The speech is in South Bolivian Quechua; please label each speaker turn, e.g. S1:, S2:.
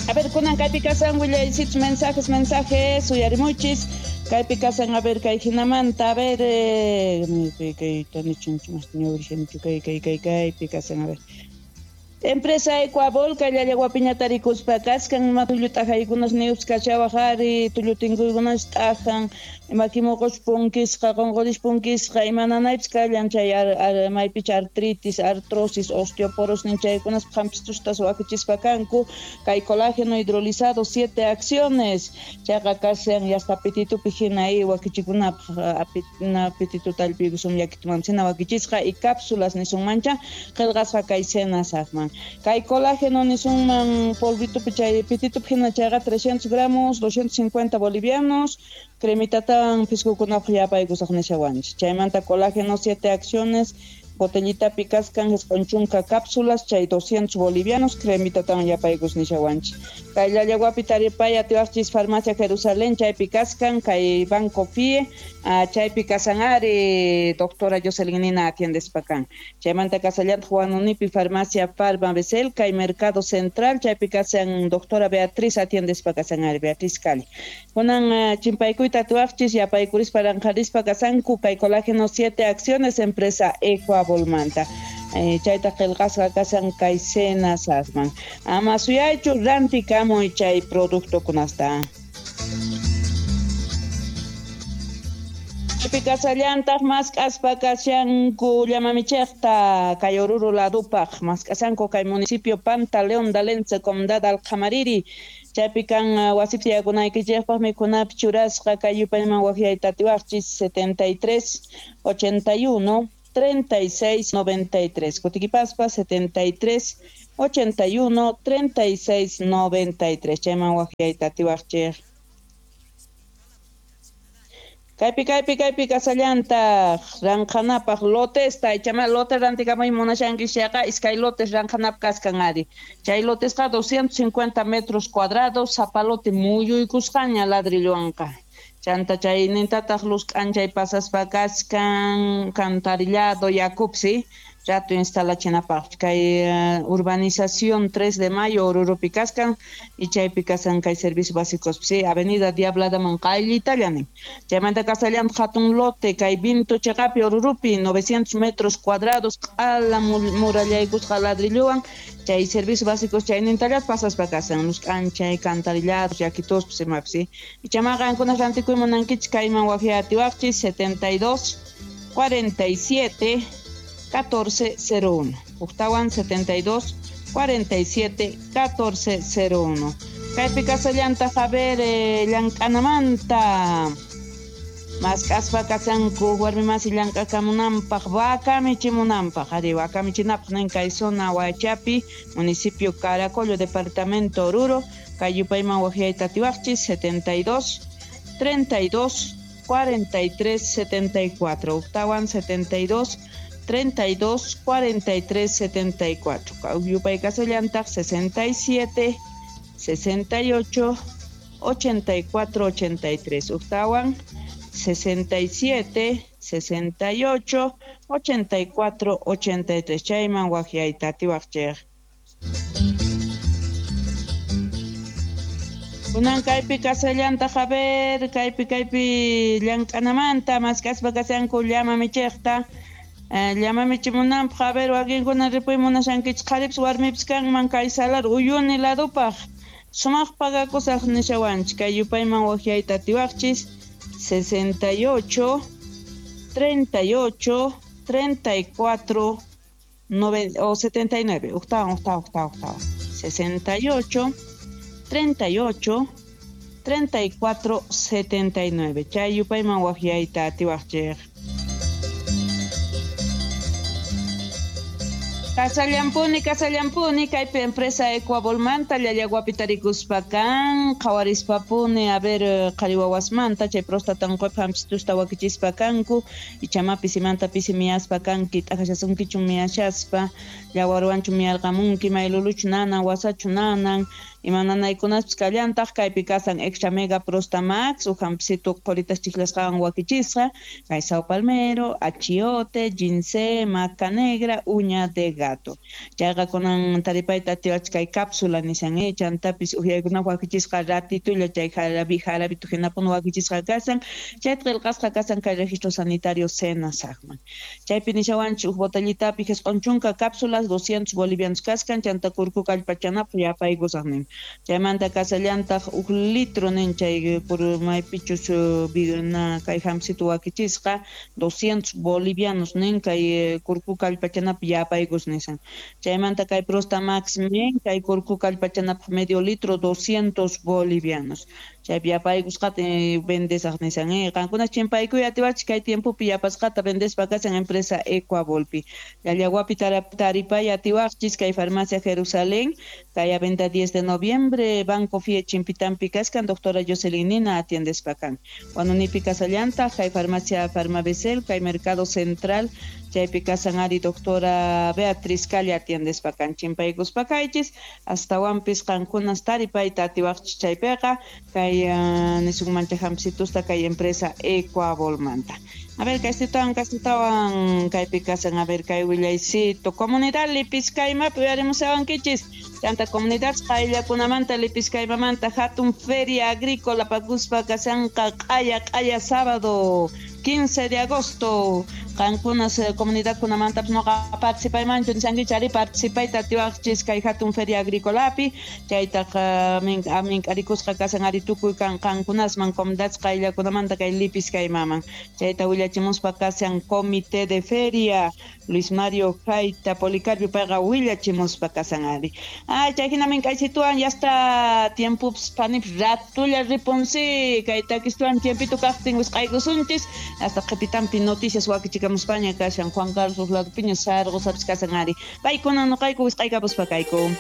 S1: A ver, kunan kaypi kasan willaysichus mensajes, mensajes, uyarimuchis. Kaypi kasan, a ver, kay hinamanta, a ver, kay kay kay kay kaypi kasan, a ver. Empresa Ecuabol, kay llallawapiña tarikuspa kaskan, ima tullu t'ajaykunas niwpis kachawaj ari, tullu tinkuykunas t'ajan, makimuqus punkisqa, qonqoris punkisqa, ima nanaypis kallan chay maypicha artritis, artrosis, osteoporosis nin chaykunas qhampistustas wakichispa kanku, kay colágeno hidrolizado 7 acciones, chayqa kashan yasta apetitupi hina y wakichikunapaj apetito tallpiykusum llakituman wakichisqa y cápsulas nisunmancha qillqasqa kay senasajman. Kay colágeno nisunman polvitupi chay pititupi hina chayqa 300 gramos, 250 bolivianos, cremitatawan piskukunapaj yapaykusaq nishawanchis. Chaymanta colágeno 7 acciones, botellita kaskan 90 cápsulas, chay 200 bolivianos, cremitatawan yapaykus nishawanchis. Kay llallawapi taripay atiwaqchis farmacia Jerusalén, chaypi kaskan, kay Banco FIE, chaypi kasan ari, doctora Jocelyn Nina atiendespa kan. Chaymanta kasallantaq Huanunipi farmacia Farma Becel, kay Mercado Central, chaypi kasan doctora Beatriz atiendespa kasan ari, Beatriz Cali. Kunan chimpaykuyta atiwaqchis, yapaykurispa ranqarispa kasanku, kay colágeno 7 acciones, empresa Ecuabolmanta. Chayta qillqasqa kasan kay senasasman. Ama suyaychu rantikamuy chay productokunasta. Pikasallantaq mask'aspa kashanku llamamichejta kay Oruro ladupaj mask'asanku kay municipio Panta León Dalence Condado Alqamariri. Chaypi kan wasipi tiyakunaykichejpaj mikhunapi churasqa kay yupayman waqyayta atiwaqchis 73 81 36 93. Kutikipaspa 73 81 36 93. Chayman waqyayta atiwaqchej. Kaypi kaypi kaypi kasallantaq ranqanapaq lotesta, ichama lote rantikamuy munashanki chayqa iskay lotes ranqanapaq kaskan ari. Chay lotesqa 250 metros cuadrados, sapa lote muyuykusqaña ladrillowanqa. Chanta chay nintataq luz k'anchay pasaspa kaskan cantarillado yakupsi rato instalachinapaq kay urbanización 3 de mayo Orurupi kaskan y chaypi kasan kay servicios básicos sí avenida Diabladaman qayllitalla nin. Chaymanta kasallantaq hatun lote kay Vinto cheqapi Orurupi 900 metros cuadrados q'ala murallaykusqa ladrillowan chay servicios básicos chaynintallat pasaspa kasan luz k'anchay cantarillados yakituspis imapis sí. Y chamaqa qankunas rantikuy munankichik kayman waqyatiwaqchis 72 47 1401. Octawan 72 47 1401. Kaypi kasallantaq a ver llank'anamanta mask'aspa kasanku warmi masi llank'akamunanpaq vaca michimunanpaq ari vaca michinapaq nin kay zona Huachapi municipio Caracollo departamento Oruro kay yupayman waqyayta atiwaqchis 72 32 43 74. Octawan 72 32 43 74. Yupay kasallantaq 67 68 84 83. Octawan 67 68 84 83. Chayman waqyayta atiwaqchej. Kunan kaypi kasallantaq a ver, kaypi kaypi llank'anamanta mask'aspa kasanku llama michejta. Llama michimunanpaq a ver wakinkuna ripuy munashankichik qharipis warmipis kanman kay salar uyuni ladupaq sumaq pagakusaq nishawanchik kay yupayman waqyayta atiwaqchis 68 38 34 9 o 79 octavo octavo octavo octavo 68 38 34 79 chay yupayman waqyayta atiwaqchik. Kasallampuni, kasallampuni, kaypi empresa Ecuabolmanta, llallawapi tarikuspa kan, qhawarispapuni, a ver, qhari wawasmanta, chay próstata unquypaq hampistusta wakichispa kanku, ichama pisimanta pisi miyaspa kanki, t'aqashasunkichu miyashaspa, llawarwanchu miyarqamunki, mayluluchu nanan, wasachu nanan, Ima nanaykunaspis kallantaq, kaypi kasan Extra Mega Prostamax, uj jampisitu qhoritas chijlasqawan wakichisqa, kay Sao Palmero, achiote, ginseng, maca negra, uña de gato. Chayqa kunan taripayta atiwach kay cápsula nishan, chantapis ujyaykunapaq wakichisqa ratitulla chay jarabi jarabitu hinapuni wakichisqa kasan, chayta qillqasqa kasan kay registro sanitario SENASAGman. Chaypi nishawanchik uj botellitapi 90 cápsulas 200 bolivianos kaskan, chanta kurku kallpachanapaq yapaykusaq nin. Chaymanta kasallantaq uj litro nin chay maypichus na kay jampisitu wakichisqa 200 bolivianos nin kay kurku kallpachanapaq yapaykus nisan. Chaymanta kay Prostamax nin kay kurku kallpachanapaq medio litro 200 bolivianos. Chaypi yapaykusqata vendesaq nisan. Qankuna chimpaykuy atiwachik kay tiempopi yapasqata vendespa kasan empresa Ecuavolpi. Llallawapi taripay atiwaqchis kay farmacia Jerusalén, kay venta 10 de noviembre, Banco FIE Chimpitampi kaskan, doctora Jocelyn Nina atiendespa kan. Huanunipi kasallanta, kay farmacia Farmabecel, kay Mercado Central, chaypi kasan ari doctora Beatriz Calle atiendespa kan. Chimpaykuspa kaychis, astawanpis qankunas taripayta atiwaqchis chaypiqa, kay nisunmancha jampsitusta kay empresa Ecuavolmanta. A ver, kaysitawan, kaysitawan, kaypi kasan, a ver, kay willaycito. Comunidad Lipiskaymapi uyarimusawankichis. Chanta comunidad qayllakunamanta Lipiskaymamanta hatun feria agrícola pakuspa kasanqa q'aya q'aya sábado 15 de agosto. Qankunas comunidadkunamantapis noqa participaymanchu nishankichis ari participayta atiwaqchis kay hatun feria agricolapi. Chaytaq mink'arikusqa kasan ari tukuy kan qankunasman comunidad qayllakunamanta kay Lipiskaymaman. Chayta willachimuspa kasan comité de feria Luis Mario Jaita Policarpio payqa willachimuspa kasan ari. Ay, chay hina mink'aysituwan ya está tiempopis panipis ratulla ripunsi kay takistuwan tiempito kaqtin wisq'aykusunchis hasta qhipitampi noticias wakichikamuspaña kashan Juan Carlos ladopiña Sargosapis kasan ari. Paykuna noqayku wisq'aykapuspa kayku.